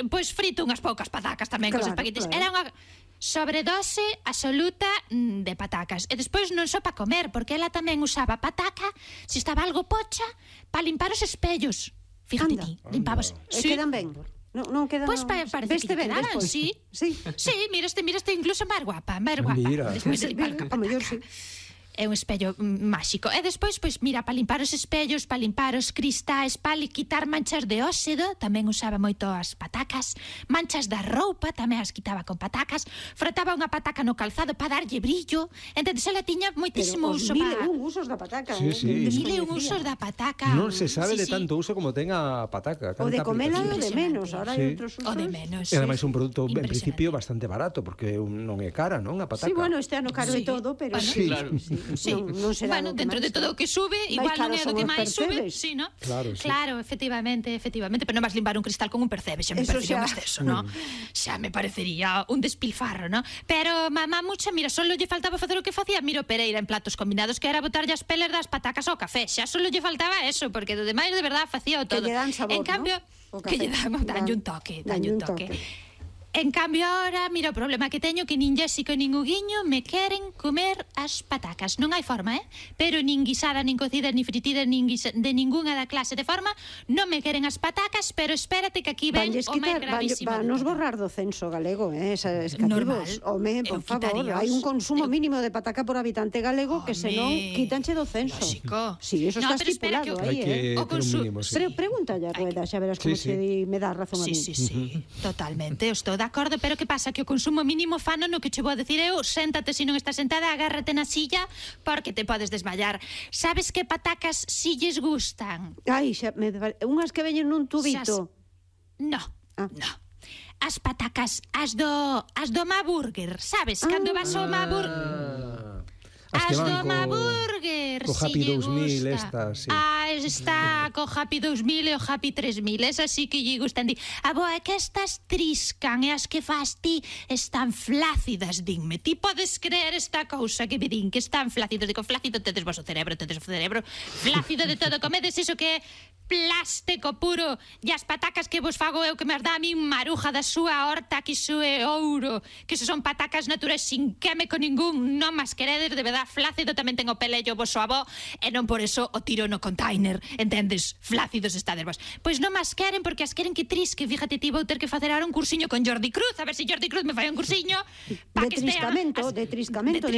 pois frito unhas poucas patacas tamén cos espaguetis. Era unha sobredose absoluta de patacas. E despois non só para comer, porque ela tamén usaba pataca, se estaba algo pocha, para limpar os espellos. Fíjate ti, limpabas. E quedan ben. Non quedan... Pois parece que quedaran, sí. Sí, miraste incluso máis guapa. Mira. Despois de limpar con pataca. É un espello máxico. E despois, pois, mira, para limpar os espellos, para limpar os cristais, para quitar manchas de óxido, tamén usaba moito as patacas. Manchas da roupa, tamén as quitaba con patacas. Frotaba unha pataca no calzado para darlle brillo. Entonces, ela tiña moitísimo uso para... Mil usos da pataca. Mil usos da pataca. Non se sabe de tanto uso como ten a pataca. O de comela o de menos. Ahora hai outros usos. O de menos. E ademais un produto, en principio, bastante barato, porque non é cara, non? A pataca. Sí, bueno, este ano caro e todo, pero... Sí, claro. Sí. Bueno, dentro de todo o que sube, igual non é do que máis sube, sí, ¿no? Claro, efectivamente, pero non vas limpar un cristal con un percebe, xa me parecería un exceso, ¿no? Xa me parecería un despilfarro, ¿no? Pero mamá mucha, mira, solo lle faltaba facer o que facía Miro Pereira en Platos Combinados, que era botarlle as peles das patacas ao café, xa solo lle faltaba eso, porque do demais de verdad facía o todo. Que lle dan sabor, en cambio, que lle danlle un toque. En cambio, ahora, mira, o problema que teño que nin Jéssica nin Huguiño me queren comer as patacas. Non hai forma, pero nin guisada, nin cocida, nin fritida, de ninguna da clase de forma. Non me queren as patacas, pero espérate que aquí ven o máis gravísimo. Nos borrar do censo galego, esas cativos. Home, por favor, hai un consumo mínimo de pataca por habitante galego que senón quítanche do censo. Lógico. Sí, eso está estipulado aí, Pero pregúntale a Rueda, xa verás como se me dá razón a mí. Sí, totalmente, estou de acordo, pero que pasa? Que o consumo mínimo fano no que che vou decir eu, séntate se non estás sentada, agárrate na silla, porque te podes desmayar. Sabes que patacas si lles gustan? Ai, unhas que veñen nun tubito. No. As patacas, as do Maburger, sabes? Cando vas ao Maburger... As do Maburger, co Happy 2000 estas, sí. Está co Happy 2000 e o Happy 3000, esas sí que lle gustan. É que estas triscan e as que fas ti están flácidas, dinme. Ti podes creer esta cousa que me din, que están flácidos. Digo, flácido tedes vos o cerebro, flácido de todo, comedes iso que é plástico puro, e as patacas que vos fago eu que me as dá a min maruja da súa horta, que iso é ouro, que iso son patacas naturais sin químico ningún, non mas queredes, de verdad, flácido tamén ten o pelello vosso avó, e non por eso o tiro no container, entendes? Flácidos estades vos. Pois non mas queren, porque as queren que trisque, fíjate ti, vou ter que facer ahora un cursiño con Jordi Cruz, a ver se Jordi Cruz me fai un cursiño de triscamento, de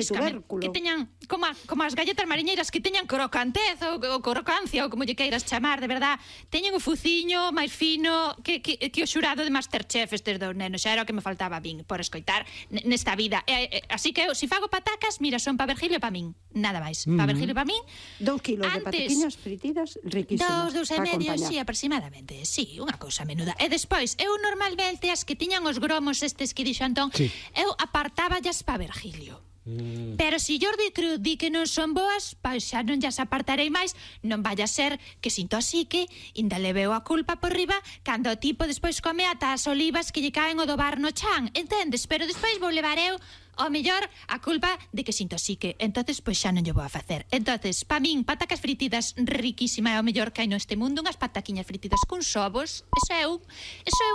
tubérculo, que teñan, como as galletas mariñeiras, que teñan crocantez ou crocancia, ou como lle queiras chamar, de verdad, teñen o fuciño máis fino que o xurado de Masterchef estes dous nenos, xa era o que me faltaba a min por escoitar nesta vida. Así que eu, se fago patacas, mira, son para Virgilio e para min, nada máis. Para Virgilio e para min. 2 kilos de pataquiñas fritidas riquísimas. 2,5, sí, aproximadamente. Sí, unha cousa menuda. E despois, eu normalmente as que tiñan os gromos estes que dixo Antón, eu apartáballas para Virgilio. Pero se Jordi Cruz di que non son boas, pois xa non llas apartarei máis, non vaya a ser que se intoxique, ainda le veo a culpa por riba cando o tipo despois come ata as olivas que lle caen o do bar no chan, entendes? Pero despois vou levar eu o mellor a culpa de que se intoxique. Entonces, pois xa non lle vou a facer. Entonces, pa min, patacas fritidas riquísima é o mellor que hai neste mundo, unhas pataquiñas fritidas con ovos, eso é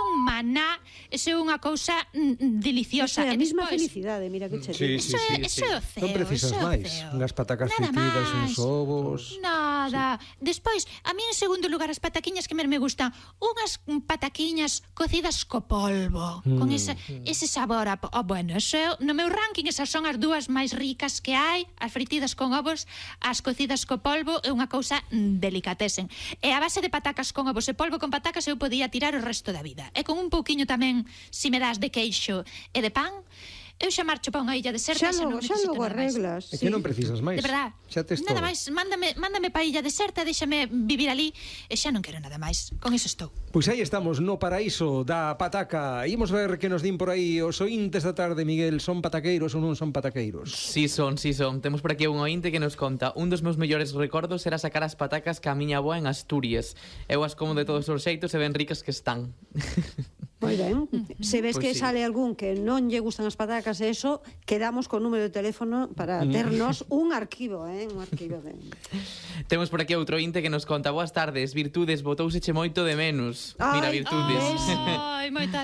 un maná, eso é unha cousa deliciosa. É a mesma felicidade, mira que che digo. Eso é o ceo. Non precisas máis, unhas patacas fritidas, uns ovos. Nada. Despois, a mí en segundo lugar as pataquiñas que me gustan, unhas pataquiñas cocidas co polvo, con ese sabor bueno, eso no meu ranking, esas son as dúas máis ricas que hai, as fritidas con ovos, as cocidas co polvo, é unha cousa delicatesen. E a base de patacas con ovos e polvo con patacas eu podía tirar o resto da vida. E con un pouquiño tamén, se me das de queixo e de pan, eu xa marcho para unha illa deserta, xa logo arreglas. É que non precisas máis. De verdad. Xa tes nada todo. máis, mándame para a illa deserta, déxame vivir ali, e xa non quero nada máis. Con iso estou. Pois aí estamos no paraíso da pataca. Imos ver que nos din por aí os ointes da tarde, Miguel, son pataqueiros ou non son pataqueiros? Sí son. Temos por aquí un ointe que nos conta: un dos meus mellores recordos era sacar as patacas que a miña avoa en Asturias. Eu as como de todos os xeitos e ben ricas que están. Moi ben. Se ves Pues que sí. sale algún que non lle gustan as patacas e eso, quedamos con número de teléfono para ternos un arquivo, un arquivo de... Temos por aquí outro inte que nos conta: boas tardes, Virtudes, botouseche moito de menos. Mira, Virtudes. Ai, moita